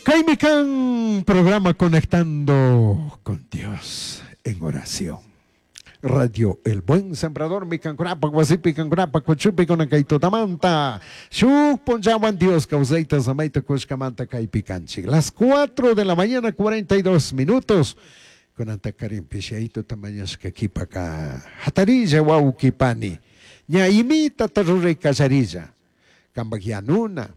Kaymi kan programa Conectando con Dios en Oración. Radio El Buen Sembrador mi kankunapak wasipi kankunapak kuchupi kunan kay tutamanta shuk punllawan Dios kawsayta samayta kushkamanta kaypi kanchik. Las 4 de la mañana 42 minutos. Kunanta karinpish yayituta mañashka kipaka hatarilla wawki pani. Ña imitata ruray kallarilla. Kampak yanuna.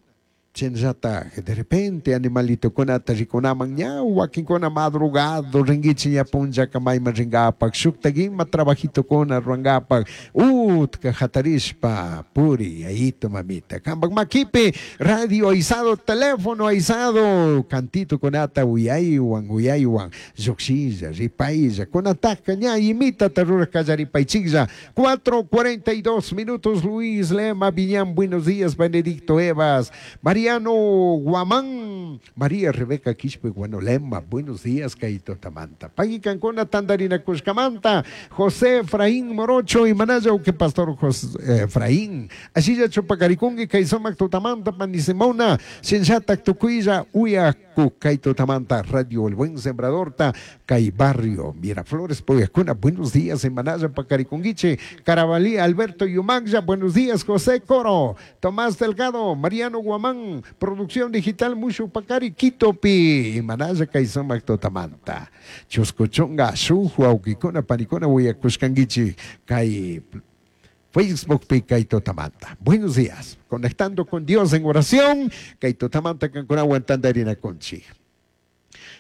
Chaynallataj de repente animalitokunata rikunaman ña wakinkuna madrugado rinkichik ña punllaka mayman rinkapak shuktak ima trabajitokuna rurankapak utka hatarishpa puri yayito mamita kampak makipi radio aysado teléfono aysado cantitokunata uyaywan uyaywan llukshilla ripaylla kunataka ña imitata rurak kallaripaychiklla. 4:42 minutos. Luis Lema Viñán, buenos días. Benedicto Evas, Mariano Guamán, María Rebeca Quispe Guanolema, buenos días, Kaito Tamanta. Pagui Cancuna, Tandarina Cuscamanta, José Efraín Morocho y Manaya, que Pastor José Efraín. Así ya Chupacaricungui, Kaisomac Tutamanta, Panisimona, Shinshata Tucuilla, Uyacu, Kaito Tamanta, Radio El Buen Sembrador, Ta, Kay Barrio, Miraflores, Poyacuna, buenos días, en Manaya, Pacaricunguiche, Carabalí, Alberto Yumagya, buenos días, José Coro, Tomás Delgado, Mariano Guamán, Producción Digital, Mushu Pacari, Quitopi, Manaya, Kaisomac Totamanta, Chuscochonga, Shuju, Auquicona, Panicona, Huayacuscanguichi, Kay Facebook pi Kaito Tamanta. Buenos días. Conectando con Dios en oración. Kaito Tamanta Cancunawan Tandarina Conchi.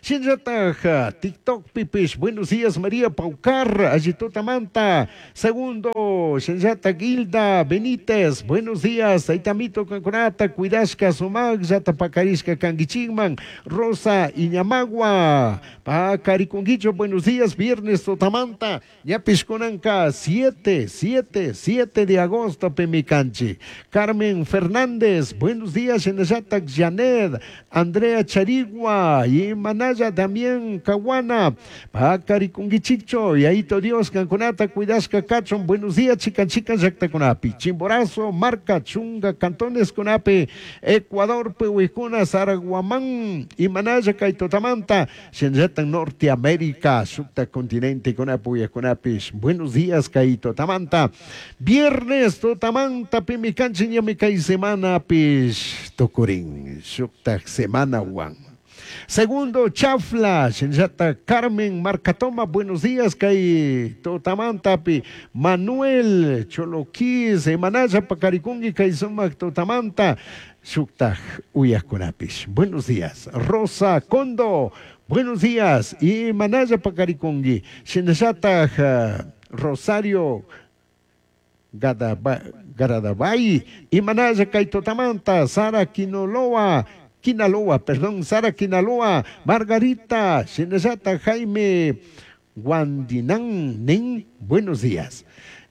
Shinllataj TikTok pipish. Buenos días María Paucar, Allitotamanta. Segundo, Shinllata Gilda Benítez. Buenos días, Aitamito Cancunata, Cuidashka Sumag, Yata Pacarishka Canguichigman, Rosa Iñamagua, Pacariconguicho, buenos días, viernes Totamanta, Ñapish Kunanka, 7, 7, 7 de agosto, Pemicanchi. Carmen Fernández, buenos días, Shinllata Janet, Andrea Charigua, y Manaya Damián Caguana, Pacariconguichicho, y Aito Dios, Cancunata, Cuidashka Cachon, buenos días, chican, chican, Yactacunapi, Chimborazo, Marca, Chunga, Cantones Cunapi, Ecuador, Pehuicuna, Saraguamán, y Manaya, Caitotamanta, Shenjatan, Norteamérica, Sucta Continente, Cunapu y Cunapis, buenos días, Caitotamanta, viernes, Totamanta, Pimicanchi, Ñamicay, Semana, Pis, Tocurín, Sucta, Semana, Juan. Segundo, Chafla, Shinjata Carmen Marcatoma, buenos días, Kay Totamantapi, Manuel Choloquis, Emanaya Pacaricungui, Kay Sumac Totamanta, Shuktaj Uyakunapis. Buenos días, Rosa Condo, buenos días, y Manaya Pacaricungui, Shinjata Rosario Garadabay, y Manaya Kay Totamanta, Sara Quinoloa, Quinaloa, perdón, Sara Quinaloa, Margarita, Shinezata, Jaime, Guandinán, Nin, buenos días.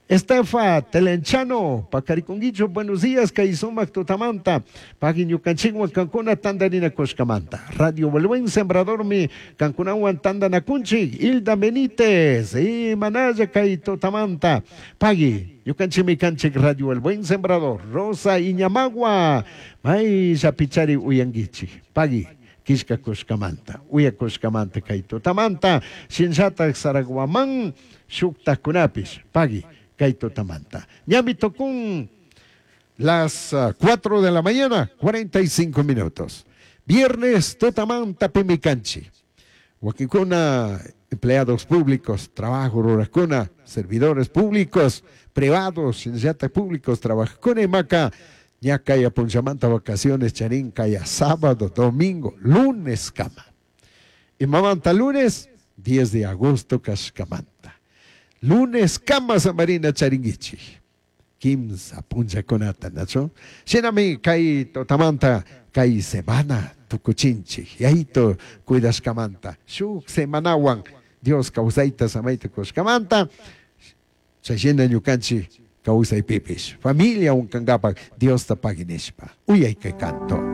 Estefa Telenchano, Pacariconguicho, buenos días, Kaizumac Totamanta, Paguiñucanchigua, Cancuna, Tandarina Coscamanta, Radio Buen Sembrador, mi Cancunahuan, Tandanacunchi, Hilda Benítez, y Manaya Kaitotamanta, Pagui, Yucanchimi Canchic, Radio El Buen Sembrador, Rosa Iñamagua, May Zapichari Uyanguichi, Pagui. Quisca Cuscamanta, Uya Cuscamanta, Kaitotamanta, Shinshata Saraguamán, Shuktakunapis, Pagui, Kaitotamanta. Ñami tocún las 4 de la mañana, 45 minutos. Viernes, Totamanta, Pimicanchi. Huaquicuna, empleados públicos, trabajo ruracuna, servidores públicos, privados, shinshata públicos, trabajo con Emaca. Ya calla Punchamanta, vacaciones, Charín, calla sábado, domingo, lunes, cama. Y mamanta lunes, 10 de agosto, Cascamanta. Lunes, cama, Samarina, Charinguichi. Quimsa, Punchaconata, Nacho. Shinami, kai totamanta, kai semana, tucuchinchi. Yaito, cuidascamanta. Shuk semanawan, Dios causaita, samaita, coscamanta. Chayena ñukanchi. Kausay pipis. Familia unkangapak, Dios ta paginishpa. Uyay que canto.